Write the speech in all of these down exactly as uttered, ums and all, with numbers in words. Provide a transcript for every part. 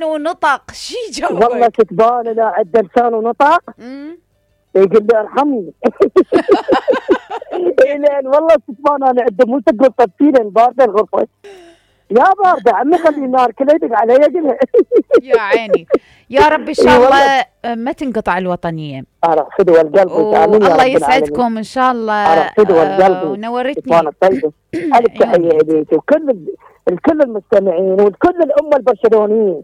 ونطق شي والله جاوبك؟ كتبان لا عنده لسان ونطق. امم يقول لي ارحمني. لان والله كتبان انا عنده مو تقول طبتين بارده الغرفه. يا بارده عمي خلي النار كله يدق علي قلها. يا عيني. يا رب ان شاء الله ما تنقطع الوطنيه. ارى فدوى القلب وتامين يا والله رب العالمين. يسعدكم ان شاء الله. ارى فدوى القلب ونورتني. كتبان الطيبه. الف تحيه اليك وكل ال- الكل المستمعين وكل الامه البرشلونيين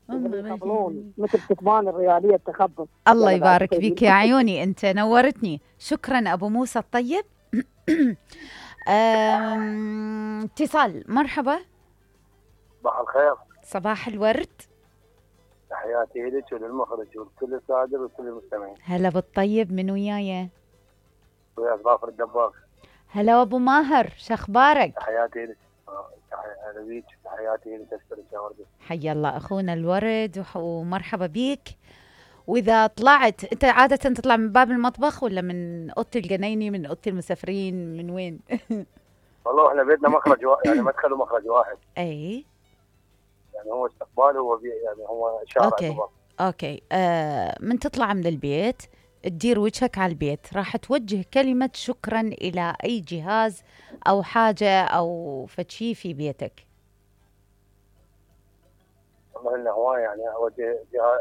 يقبلون مثل كتبان الرياليه التخبط. الله يبارك فيك يا عيوني، انت نورتني. شكرا ابو موسى الطيب. أم، اتصال. مرحبا. صباح الخير. صباح الورد. تحياتي لك وللمخرج ولكل السادة وكل المستمعين. هلا بالطيب، من وياي؟ ويا ظافر الدباغ. هلا ابو ماهر، شخبارك؟ تحياتي لك. هلا بيك. تحياتي لك. اشكرك يا وردة. حيا الله اخونا الورد وح- ومرحبا بيك. واذا طلعت انت عاده تطلع من باب المطبخ ولا من اوضه الجنايني، من اوضه المسافرين، من وين؟ والله احنا بيتنا مخرج وا... يعني مدخل ومخرج واحد. اي يعني هو استقبال هو بي... يعني هو شارع. اوكي دباغ. اوكي. آه من تطلع من البيت تدير وجهك على البيت، راح توجه كلمة شكرا إلى أي جهاز أو حاجة أو فشي في بيتك. والله انه هواي يعني اوجه جها...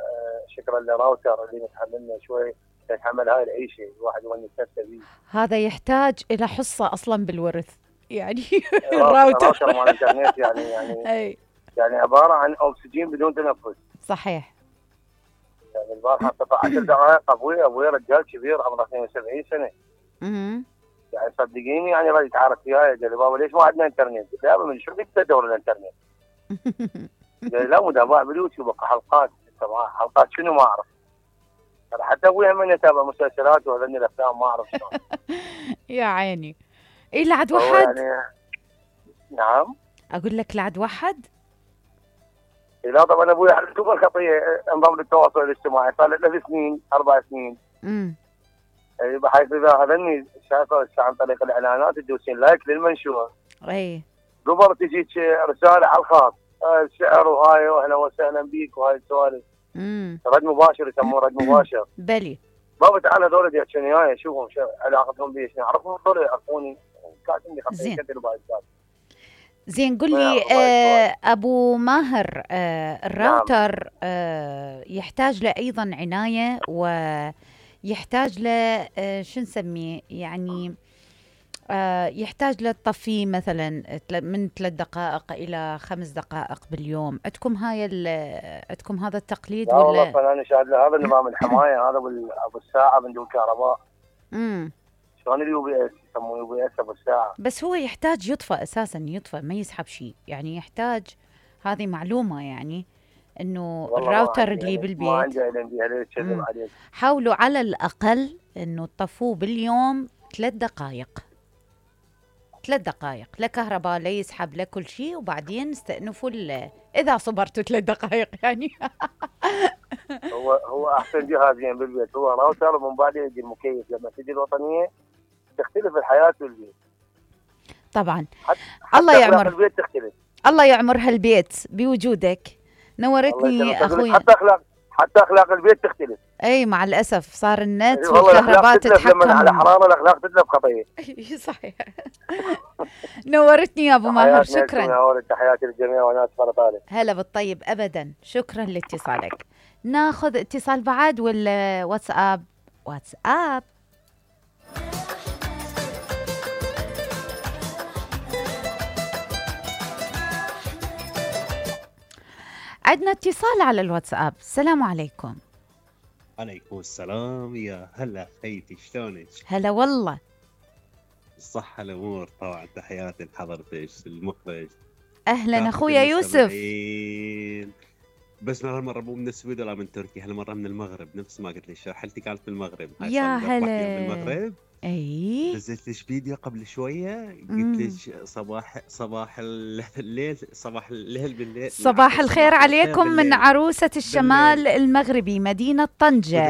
شكرا لراوتر اللي متحملنا شوي يتحمل هاي العيشه الواحد يونس نفسه بيه. هذا يحتاج إلى حصة أصلا بالورث يعني. الراوتر الراوتر مال الانترنت يعني يعني أي يعني عباره عن اكسجين بدون تنفس. صحيح. يعني البارحه قطع عشر دقائق. ابوي ابوي رجال كبير عمره اثنين وسبعين سنه. امم يعني صدقيني يعني راح يتعارك وياي. قال لي بابا ليش ما عندنا انترنت؟ قلت له يابا من شو بدك تدور الانترنت؟ قال لي لا متابع باليوتيوب حلقات. طبعا حلقات شنو ما اعرف. حتى ابوي هم يتابع مسلسلات وهذني الافلام ما اعرف شلون. يا عيني. إيه لعد هو وحد؟ يعني نعم. أقول لك لعد وحد؟ لا طبعا ابوي حلتوب الخطيه نظام التواصل الاجتماعي صار له ثلاث سنين اربع سنين. امم بحيث اذا هذني شايفه عن طريق الاعلانات تدوسين لايك للمنشور. أي قبل تجيك رساله على الخاص الشعر وهاي واهلا وسهلا بيك وهاي السوالف. امم رد مباشر يسموه رد مباشر. بلي. بابا تعال هذول يحكون وياي اشوفهم شو علاقتهم بي شنو اعرفهم هذول يعرفوني كاتبين لي زين. خطين كثير بعد. زين قل ما لي يعرف آه أبو ماهر، آه الراوتر آه يحتاج له أيضا عناية، ويحتاج له آه شو نسميه يعني آه يحتاج له تطفيه مثلا تل- من ثلاث دقائق إلى خمس دقائق باليوم. عندكم هاي ال- عندكم هذا التقليد لا والله ولا؟ فانا شاهد له هذا نظام الحمايه هذا بال- ابو الساعه من دون كهرباء. امم شلون اليو بي اس يسموه يو بي اس ابو الساعه. بس هو يحتاج يطفى أساسا، يطفى ما يسحب شيء يعني. يحتاج، هذه معلومة يعني، انه والله ما الراوتر عندي اللي يعني ما بالبيت عندي علم بها ليش كذب مم. عليك. حاولوا على الأقل انه تطفوه باليوم ثلاث دقائق. ثلاث دقائق لا كهرباء لا يسحب لا كل شيء، وبعدين استأنفوا ال- اذا صبرتوا ثلاث دقائق يعني. هو هو احسن جهازين بالبيت هو راوتر ومن بعد يجي المكيف. لما تجي الوطنيه تختلف الحياه والبيت. طبعا. حتى الله أخلاق يعمر. البيت تختلف. الله يعمر هالبيت بوجودك. الله نورتني يسلمك. أقول لك اخوي. حتى اخلاق حتى اخلاق البيت تختلف. اي مع الاسف صار النت والله والكهرباء الاخلاق تتلف لما على تتحكم. حراره الاخلاق تتلف خطيه. صحيح. نورتني يا ابو ماهر، تحياتي لكم شكرا. يا ولد. تحياتي للجميع وانا اسفل طالب. هلا بالطيب ابدا، شكرا لاتصالك. ناخذ اتصال بعد ولا واتساب؟ واتساب. عندنا اتصال على الواتساب. السلام عليكم. عليكم السلام. يا هلا خيتي شلونك؟ هلا والله. الصحة الأمور طبعا. تحياتي لحضرتك المخرج. اهلا كافة اخويا يوسف. المستمعين. بس هالمرة مو من السويد ولا من تركيا، هالمرة من المغرب نفس ما قلت لي. حالتي كانت في المغرب. هاي يا صار لي أربع أيام هلا. بالمغرب. اي نزلت لك فيديو قبل شوية مم. قلت لك صباح صباح الليل صباح الليل بالليل. صباح الخير صباح الخير عليكم من بالليل. عروسة الشمال المغربي مدينة طنجة.